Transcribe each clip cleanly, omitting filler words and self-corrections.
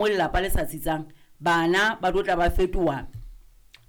Mo lelapa le sa tsitsang, bana ba tlo tla ba fetoha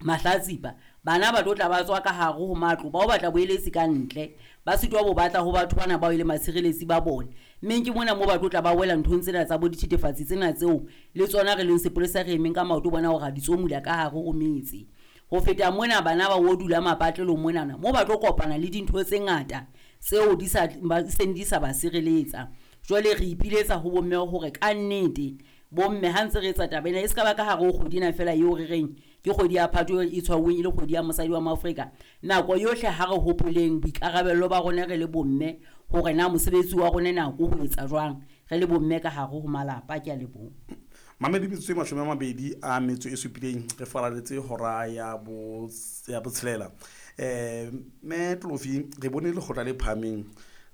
mahlatsipa. Bana ba tlo tla ba tswa ka hare ho matlo ba o batla boeletsi ka ntle, ba sitwa bo batla ho batho bana bao e leng batshireletsi ba bona. Mmeng ke mona moo ba tlo tla ba wela nthong tsena tsa bo dithethefatsi tsena tseo le tsona re leng sepolesa re emeng ka maoto bona hore ra di tsomula ka hare ho metse. Ho feta mona bana ba o dula mapatlelong monana moo ba tlo kopana le dintho tse ngata tseo di sa ba seng di sa ba sireletsa. Jwale re ipiletsa ho bomme hore kannete bomme ha ntse re etsa taba ena e se ka ba ka hare ho kgwedi ena fela eo re reng ke kgwedi ya Phato e tshwauweng e le kgwedi ya mosadi wa Moafrika. Nako yohle ha re hopoleng boikarabello ba rona re le bomme hore na mosebetsi wa rona na ko ho etsa jwang re le bomme ka hare ho malapa. Ke a leboha. Mamedi metsotso e 27 re faraletse hora ya bo ya botshelela. Me Tlofi re bone lekgotla le phahameng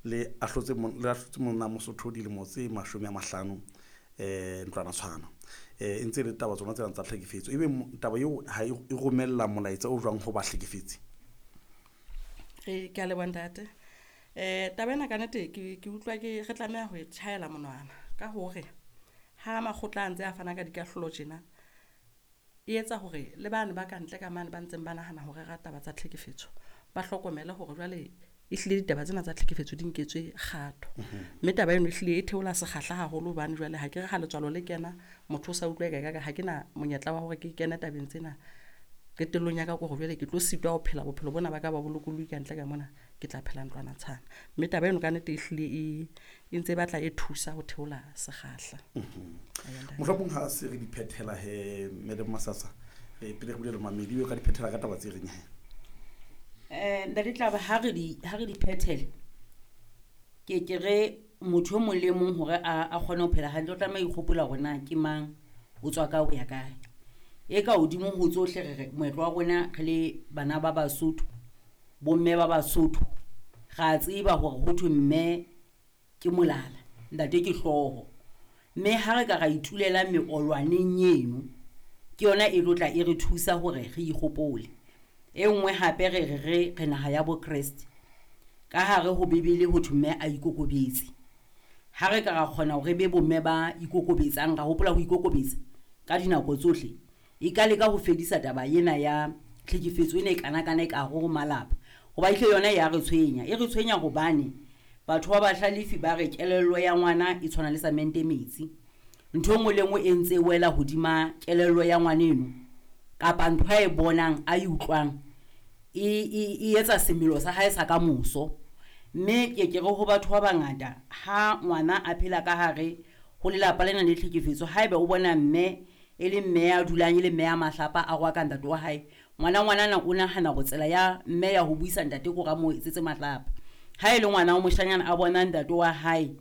le ahlotse le ahlotse monna Mosotho dilemo tse 50 ntlwana tshwana. E ntse le taba tsona tsena tsa tlhekefetso. Ebe taba eo ha e romella molaetsa o jwang ho bahlekefetsi? Re ke a leboha ntate. Taba ena ka nnete ke utlwa ke re tlameha ho e tjhaela monwana ka hore ha makgotla a ntse a fana ka dikahlolo tjena, e etsa hore le bane ba kantle ka mane ba ntseng ba nahana ho rera taba tsa tlhekefetso, ba hlokomele hore jwale ehlile ditaba tsena tsa tlhekefetso di nketswe kgato. Mme taba eno ehlile e theola sekgahla haholo hobane jwale ha ke re ha letswalo le kena, motho o sa utlwa eka ekare ha ke na monyetla wa hore ke kene tabeng tsena. Qetellong ya ka ke hore jwale ke tlo sitwa ho phela bophelo bona ba ka ba bolokolohi kantle ka mona, ke tla phela ntlwana tshwana. Mme taba eno ka nnete ehlile e ntse e batla e thusa ho theola sekgahla. Mohlomong ha se re di phethela he Madam Masasa, pele re bulela mamedi o ka di phethela ka taba tse reng he? Ntate Tlaba, ha re di ha re di phethele ke ke re motho e mong le mong hore a kgone ho phela hantle o tlameha ho ikgopola hore na ke mang, o tswa kae, o ya kae. E ka hodimo ho tsohle re re moetlo wa rona re le bana ba Basotho, bomme ba Basotho, ra tseba hore ho thwe mme ke molala, ntate ke hlooho. Mme ha re ka ra itulela meolwaneng eno, ke yona e tlo tla e re thusa hore re ikgopole. E nngwe hape re re re re naha ya bo Kreste. Ka hare ho Bibele ho thwe mme a ikokobetse. Ha re ka ra kgona hore re be bomme ba ikokobetsang, ra hopola ho ikokobetsa ka dinako tsohle, e ka leka ho fedisa taba ena ya tlhekefetso ena e kanakana e ka hare ho malapa. Hoba ehlile yona ya re tshwenya. E re tshwenya hobane batho ba bahlalefi ba re kelello ya ngwana e tshwana le samente metsi. Ntho e nngwe le nngwe e ntse e wela hodima kelello ya ngwaneno kapa ntho a e bonang a e utlwang e etsa semelo sa hae sa ka moso. Mme ke ke re ho batho ba bangata ha ngwana a phela ka hare ho lelapa lena le tlhekefetso, haeba o bona mme e le mme ya dulang e le mme ya mahlapa a rwaka ntate wa hae, ngwana ngwanana o nahana hore tsela ya mme ya ho buisa ntate ke hore a mo etsetse mahlapa. Ha e le ngwana wa moshanyana a bona ntate wa hae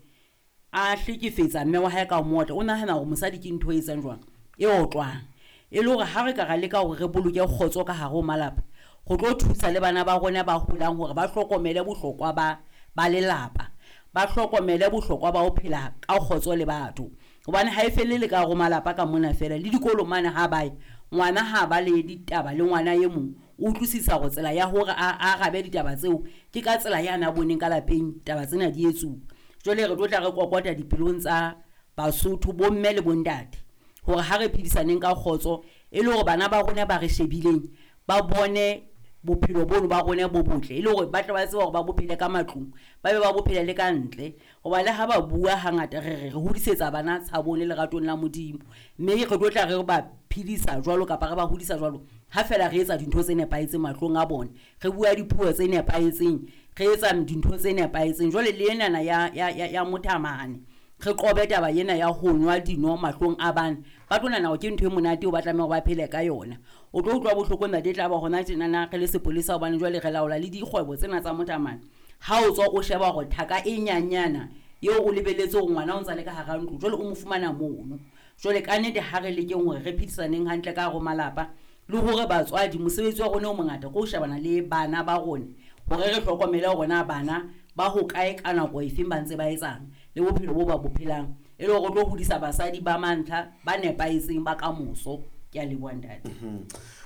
a hlekefetsa mme wa hae ka motla, o nahana hore mosadi ke ntho e etsang jwang, e otlwang. E le hore ha re ka ra leka hore re boloke kgotso ka hare ho malapa, go tlo thusa le bana ba rona ba holang hore ba hlokomele bohlokwa ba lelapa, ba hlokomele bohlokwa ba ho phela ka kgotso le batho. Hobane ha e felle le ka hare ho malapa ka mona fela, le dikolong mane ha ba ya, ngwana ha ba le ditaba le ngwana e mong, o utlwisisa hore tsela ya hore a arabe ditaba tseo ke ka tsela ya na boneng ka lapeng taba tsena di etsuwa. Jwale re tlo tla re kokota dipelong tsa Basotho, bomme le bontate, hore ha re phedisaneng ka kgotso e le hore bana ba rona ba re shebileng ba bone bophelo bono ba rona bo botle, e le hore ba tle ba tsebe hore ba bophele ka matlung, ba be ba bophele le ka ntle. Hoba le ha ba bua hangata re re re hodisetsa bana tshabong le leratong la Modimo, mme re tlo tla re ba phedisa jwalo kapa re ba hodisa jwalo ha fela re etsa dintho tse nepahetseng mahlong a bona, re bua dipuo tse nepahetseng, re etsa dintho tse nepahetseng. Jwale le enana ya mothamane, re qobe taba ena ya ho nwa dino mahlong a bana, ba tlo nahana hore ke ntho e monate eo ba tlameha hore ba phele ka yona. O tlo utlwa bohloko ntate, tla ba hona tjenana re le sepolesa, hobane jwale re laola le dikgwebo tsena tsa mothamane. Ha o tswa o sheba hore thaka e nyanyana eo o lebelletse hore ngwana o ntsa le ka hara ntlo, jwale o mo fumana mono. Jwale ka nnete ha re lekeng hore re phedisaneng hantle ka hare ho malapa, le hore batswadi mosebetsi wa rona o mongata ke ho shebana le bana ba rona, hore re hlokomele hore na bana ba hokae ka nako efeng ba ntse ba etsang, le bophelo bo ba bo phelang, e le hore re tlo hodisa basadi ba mantlha ba nepahetseng ba kamoso. Ke a leboha ntate.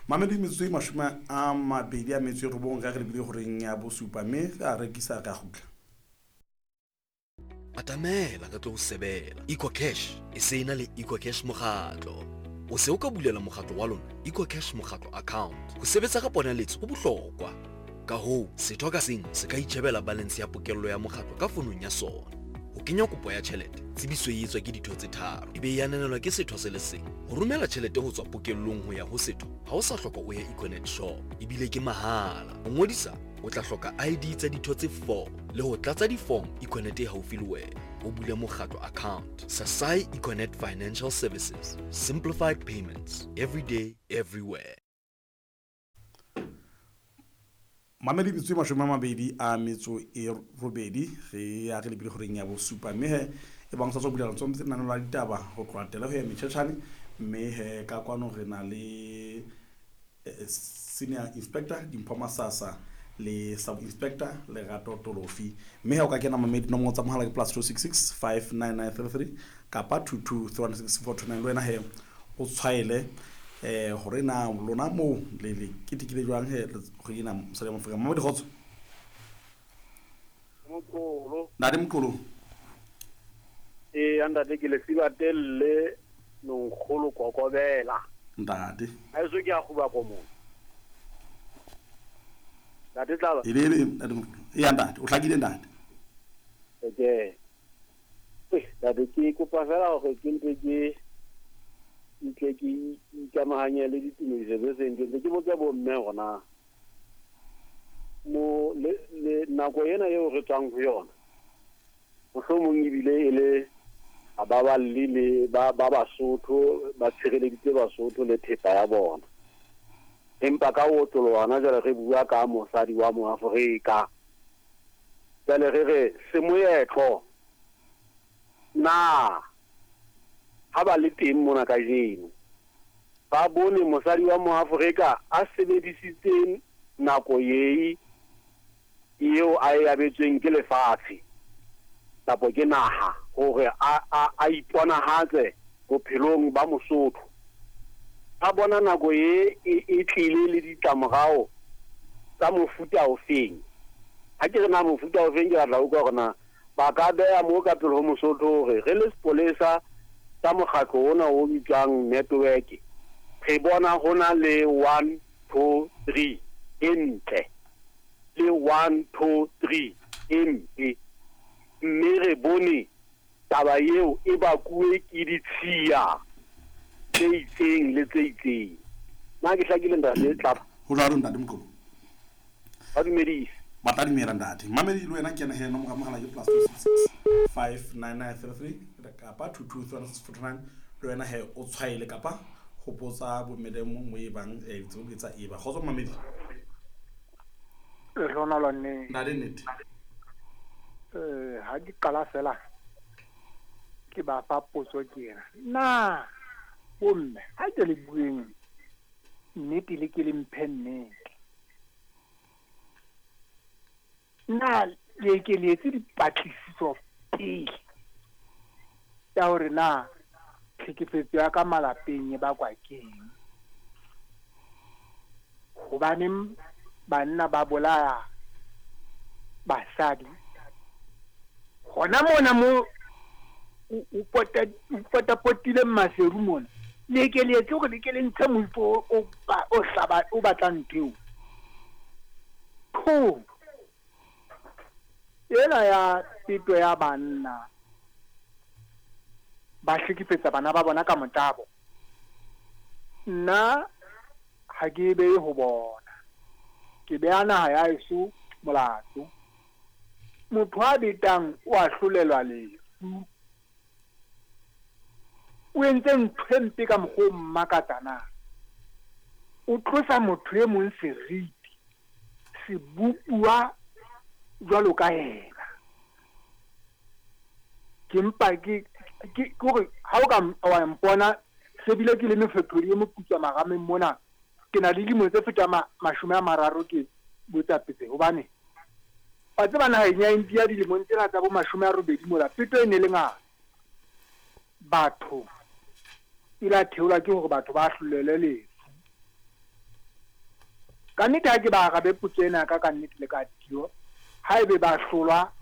Mamedi metsotso e 29 ka re lebile horeng ya bosupa, mme ra rekisa ra kgutla. Atamela re tlo o sebela. EcoCash e se e na le EcoCash mokgatlo. O se o ka bulela mokgatlo wa lona EcoCash mokgatlo account. Ho sebetsa ka ponaletso ho bohlokwa. Ka hoo, setho ka seng se ka itjhebela balance ya pokello ya mokgatlo ka fonong ya sona. Ho kenya kopo ya tjhelete, tsebiso e etswa ke ditho tse tharo, e be e ananelwa ke setho se le seng. Ho romela tjhelete ho tswa pokellong ho ya ho setho, ha o sa hloka o ye Econet shop, ebile ke mahala. Ho ngodisa, o tla hloka ID tsa ditho tse 4 le ho tlatsa diform Econet e haufi le wena. O bule mokgatlo account. Sasai Econet Financial Services. Simplified payments. Every day, everywhere. Mamedi metsotso e 28 re ya re lebile goreng ya bosupa, mme he e bang sa tswa bulela ntse ntse lenaneo la ditaba ho tloha tele ho ya metšhetšhane, mme he ka kwano re na le senior inspector Dimpho Masasa le sub inspector Lerato Tolofi, mme ha o ka kena mamedi nomoro tsa mohala ke plus 266 59933 kapa 22316 le wena he o tshwaele hore na lona moo le le ketekile jwang he kgwedi ena mosadi wa Moafrika. Mamedi kgotso. Moqolo. Ntate Moqolo. Ee, ntate ke lesiba telle nonkgolo kokobela. Ntate. Ha eso ke a kguba komong. Ntate Tlaba. E le ntate Moqolo. Ee ntate, o hlakile ntate. Okay. Ntate ke kopa fela hore ke mpe ke ntle ke ikamahanye le ditumediso tse seng ke ntse ke botsa bomme hona mo le nako ena eo re tswang ho yona, mohlomong ebile e le a baballi le ba Basotho ba tshireleditse Basotho le thepa ya bona, empa ka ho otloloha jwale re bua ka mosadi wa Moafrika, jwale re re semoetlo na ha ba le teng mona kajeno ba bone mosadi wa Moafrika a sebedisitse nako ye eo a e abetsweng ke lefatshe kapa ke naha hore a iponahatse bophelong ba Mosotho, a bona nako ye e tlile le ditlamorao tsa mofuta ofeng. Ha ke re na mofuta ofeng, ke batla ho utlwa hore na ba ka beha mo ka pele ho Mosotho hore re le sepolesa sa mokgatlo ona o bitswang network, re bona ho na le 1 2 3 e ntle le 1 2 3 e mpe, mme re bone taba eo e bakuwe ke ditshiya tse itseng le tse itseng. Na ke hlakile ntate Tlaba? Ho jwalo ntate Moqolo. Ba dumedise. Ba tla dumela ntate. Mamedi le wena ke ena he nomoro ya mohala ke plus 266 59933 kapa 223 le wena he o tshwaele kapa ho botsa bommedemo mo e bang ditsebo di tsa eba. Kgotso mamedi. Lehlohonolo nne. Ntate nnete. Ha ke qala fela ke ba fa potso ke ena. Na bomme ha ke le bueng nnete le ke le mphe nnete. Na le ke le etse dipatlisiso pele ya hore na tlhekefetso ya ka malapeng e bakwa keng? Hobaneng banna ba bolaya basadi? Hona mona mo o potapotile Maseru mona, le ke le etse hore le ke le ntshe moifo o hlaba o batlang ntho eo. Tho ena ya peto ya banna ba hlekefetsa bana ba bona ka motabo, nna ha ke behe ho bona, ke beha naha ya heso molato. Motho a betang o a hlolelwa lefu, o entse ntho e mpe ka mokgwa o mmakatsa na, o tlosa motho e mong seriti sebopuwa jwalo ka yena. Ke mpa ke hore ha o ka wa mpona se bile ke le mefethodi e moputswa marameng mona, ke na le dilemo tse fetang 30 ke botsapetse, hobane wa tseba naheng ya India dilemong tsena tsa bo 80 mola peto e ne le ngata. Batho ile a theolwa ke hore batho ba hlolelwe lefu. Ka nnete ha ke ba arabe potso ena ka nnete le ka tio, haebe ba hlolwa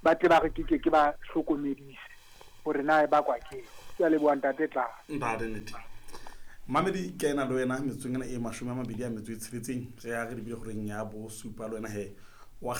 Ba tle ba re ke ke ba hlokomedise hore na e bakwa ke. Ke a leboha ntate Tla. Ntate nnete. Mamedi ke ena le wena metsotsong ena e 26 re ya re lebile horeng ya bosupa le wena he wa kgela.